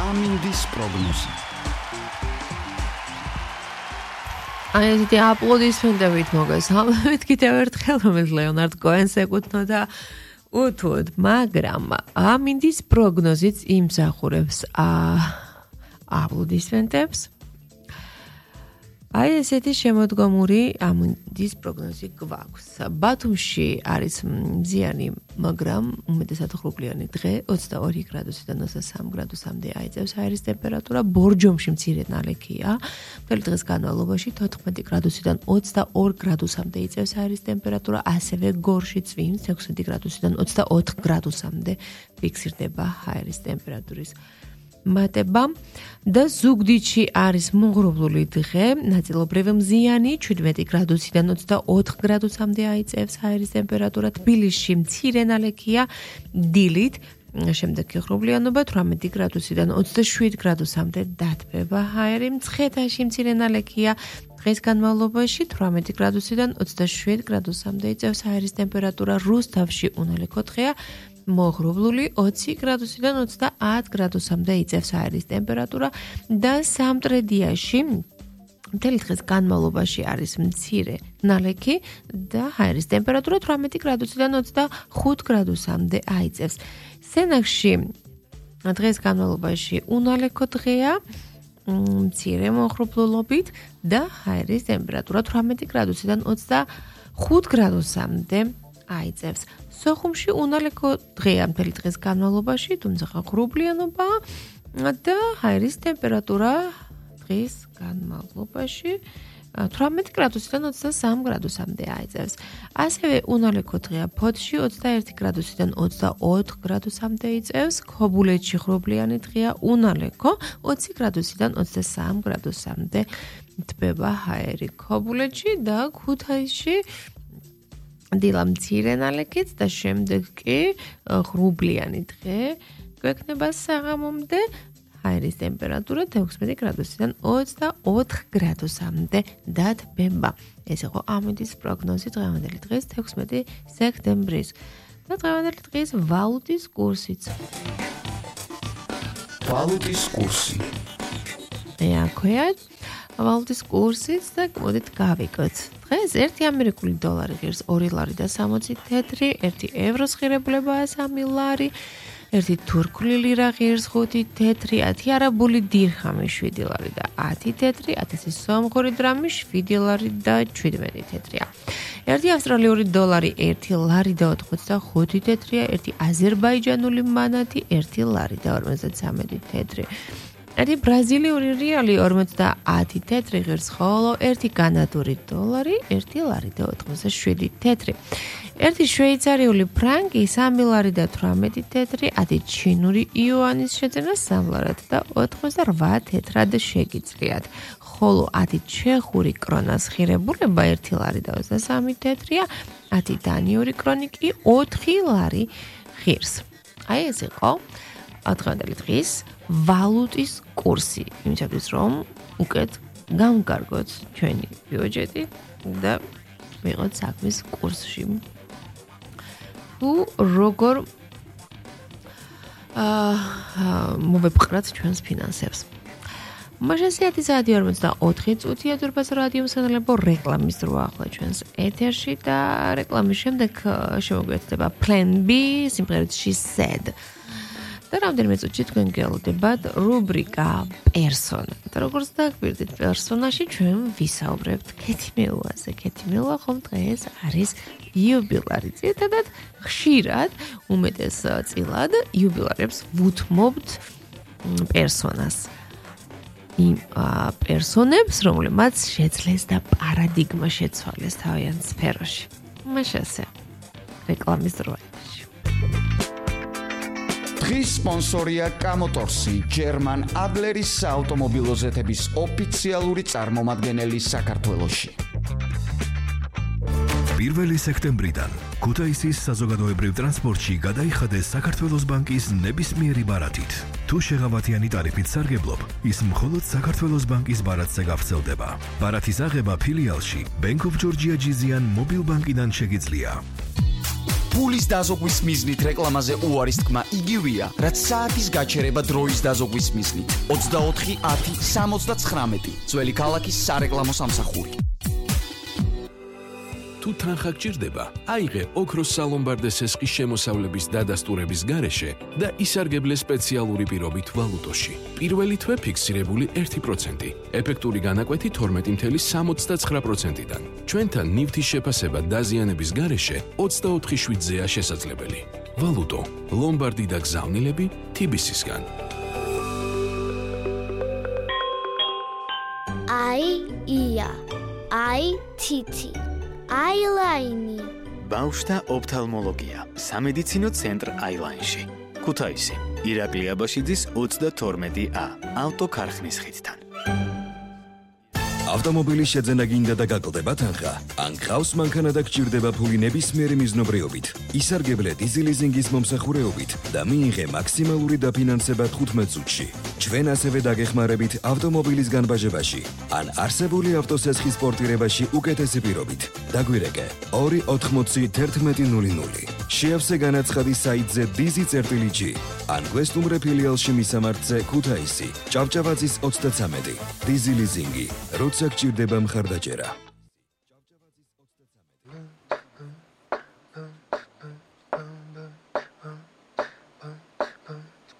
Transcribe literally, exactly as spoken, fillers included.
ამინდის პროგნოზი. აი ესეთი აპლოდისმენტებით მოგესალმებით კიდევ ერთხელ, რომელიც ლეონარდ კოენს ეკუთვნოდა უთუოდ, მაგრამ ამინდის პროგნოზიც იმსახურებს აპლოდისმენტებს. აი ესეთი შემოდგომური ამინდის პროგნოზი გვაქვს. ბათუმში არის მზიანი, მაგრამ უმეტესად ღრუბლიანი დღე, ოცდაორი გრადუსიდან ოცდასამი გრადუსამდე აიწევს აირის ტემპერატურა, ბორჯომში მცირე ნალექია. მთელი დღის განმავლობაში თოთხმეტი გრადუსიდან ოცდაორ გრადუსამდე იწევს აირის ტემპერატურა, ასევე გორში წვიმს ექვსმეტი გრადუსიდან ოცდაოთხ გრადუსამდე ფიქსირდება აირის ტემპერატურის მატება და ზუგდიდში არის მონღრუბლული დღე, ნაწილობრივ მზიანი, შვიდმეტი გრადუსიდან ოცდაოთხ გრადუსამდე აიწევს აირის ტემპერატურა, თბილისში მცირე ნალექია, დილით, შემდეგი ღრუბლიანობა თვრამეტი გრადუსიდან ოცდაშვიდ გრადუსამდე დათბება აირი, მცხეთაში მცირე ნალექია, დღის განმავლობაში თვრამეტი გრადუსიდან ოცდაშვიდ გრადუსამდე იწევს აირის ტემპერატურა, რუსთავში უნალექო დღეა, მოღრუბლული ოცი გრადუსიდან ოცდაათ გრადუსამდე იწევს აირის ტემპერატურა და სამტრედიაში მთელი დღის განმავლობაში არის მცირე ნალექი და აირის ტემპერატურა თვრამეტი გრადუსიდან ოცდახუთ გრადუსამდე აიწევს. სენაკში დღის განმავლობაში უნალექო დღეა, მცირე მოღრუბლულობით და აირის ტემპერატურა თვრამეტი გრადუსიდან ოცდახუთ გრადუსამდე აიწევს. სოხუმში უნალექო დღეა მთელი დღის განმავლობაში, თუმცა ღრუბლიანობა და აირის ტემპერატურა დღის განმავლობაში თვრამეტი გრადუსიდან ოცდასამი გრადუსამდე აიწევს. ასევე უნალექო დღეა ფოთში ოცდაერთი გრადუსიდან ოცდაოთხ გრადუსამდე იწევს, ქობულეთში ღრუბლიანი დღეა, უნალექო ოცი გრადუსიდან ოცდასამი გრადუსამდე თბება აირი ქობულეთში და ქუთაისში დილა მცირე ნალექით და შემდეგ კი ღრუბლიანი დღე გვექნება საღამომდე, აირის ტემპერატურა ექვსმეტი გრადუსიდან ოცდაოთხ გრადუსამდე დათბება. ეს იყო ამინდის პროგნოზი დღევანდელი დღის ექვსმეტი სექტემბრის და დღევანდელი დღის ვალუტის კურსიც. ვალუტის კურსი. ეაქვეა ვალუტის კურსიც და მოდით გავიგოთ. დღეს ერთი ამერიკული დოლარი ღირს ორი ლარი და სამოცი თეთრი, ერთი ევროს ღირებულებაა სამი ლარი, ერთი თურქული ლირა ღირს ხუთი თეთრი, ათი არაბული დირხამი შვიდი ლარი და ათი თეთრი, ათასი სომხური დრამი შვიდი ლარი და შვიდმეტი თეთრია. ერთი ავსტრალიური დოლარი ერთი ლარი და ოთხმოცდახუთი თეთრია, ერთი აზერბაიჯანული მანათი ერთი ლარი და ორმოცდაცამეტი თეთრი. ერთი ბრაზილიური რეალი ორმოცდაათი თეთრი ღირს, ხოლო ერთი კანადური დოლარი ერთი ლარი და ოთხმოცდაშვიდი თეთრი. ერთი შვეიცარიული ფრანკი სამი ლარი და თვრამეტი თეთრი, ათი ჩინური იუანის შეძენა სამი ლარად და ოცდაოთხ თეთრად შეგიძლიათ. ხოლო ათი ჩეხური კრონას ღირებულება ერთი ლარი და ოცდასამი თეთრია, ათი დანიური კრონი კი ოთხი ლარი ღირს. აი ეს იყო დღევანდელი დღის ვალუტის კურსი, იმისათვის რომ უკეთ გამგარგოთ ჩვენი ბიუჯეტი და ვიღოთ საქმის კურსში. თუ როგორ აა მოვეპყრათ ჩვენს ფინანსებს. მაშასიათი საათი ორმოცდაოთხი წუთია დურბაზ რადიო სანელებო რეკლამის დრო ახლა ჩვენს ეთერში და რეკლამის შემდეგ შემოგვიერთდება Plan B სიმღერით She Said. და რამდენიმე წუთში თქვენ გელოდებათ რუბრიკა პერსონა. და როგორც დაგვირდით პერსონაში ჩვენ ვისაუბრებთ ქეთიმელუაზე. ქეთიმელუა ხომ დღეს არის იუბილარი. ძირითადად ხშირად უმეტეს წილად იუბილარებს ვუთმობთ პერსონას. იმ პერსონებს, რომლებმაც შეძლეს და პარადიგმა შეცვალეს თავიანთ სფეროში. მაშასე რეკლამის დროა. დღის სპონსორია კამოტორსი, ჯერმან ადლერის საავტომობილო ზეთების ოფიციალური წარმომადგენელი საქართველოში. პირველი სექტემბრიდან ქუთაისის საზოგადოებრივ ტრანსპორტში გადაიხადეს საქართველოს ბანკის ნებისმიერი ბარათით. თუ შეღავათიანი ტარიფით სარგებლობ, ის მხოლოდ საქართველოს ბანკის ბარათზე გავრცელდება. ბარათის აღება ფილიალში Bank of Georgia ჯიზიან მობილ ბანკიდან შეგიძლია. ფულის დაზოგვის მიზნით რეკლამაზე უარის თქმა იგივეა, რაც საათის გაჩერება დროის დაზოგვის მიზნით. ოცდაოთხი ათი სამოცდაცხრამეტი ძველი ქალაქის სარეკლამო სამსახური. თუ თანხა გჭირდება, აიღე ოქროს სალომბარდეს ესყის შემოსავლების დადასტურების გარეშე და ისარგებლე სპეციალური პირობით ვალუტოში. პირველი თვე ფიქსირებული ერთი პროცენტი, ეფექტური განაკვეთი თორმეტი წუთი სამოცდაცხრა პროცენტიდან. ჩვენთან ნივთის შეფასება დაზიანების გარეშე ოცდაოთხი შვიდზეა შესაძლებელი. ვალუტო, ლომბარდი და გზავნილები თი ბი ეს-ისგან. აი ია, აი თითი. აილაინი. ბავშვთა ოფთალმოლოგია. სამედიცინო ცენტრ აილაინში. ქუთაისი. ირაკლი აბაშიძის ოცდათორმეტი ა. ავტოქარხნის ხიდთან. ავტომობილის შეძენა გინდა და გაკლდება თანხა? ან გყავს მანქანა და გჭირდება ფული ნებისმიერი მიზნობრიობით? ისარგებლე დიზელიზინგის მომსახურეობით და მიიღე მაქსიმალური დაფინანსება თხუთმეტ წუთში. ჩვენ ასევე დაგეხმარებით ავტომობილის განბაჟებაში ან არსებული ავტოსესხის პორტირებაში უკეთესი პირობით. დაგვირეკე ორი ოთხმოცი თერთმეტი ნული ნული. შეავსე განაცხადი საიტზე დიზი წერტილი ჯი ან გვესტუმრე ფილიალში მისამართზე ქუთაისი, ჭავჭავაძის ოცდაცამეტი. დიზი ლიზინგი, როცა გჭირდება მხარდაჭერა.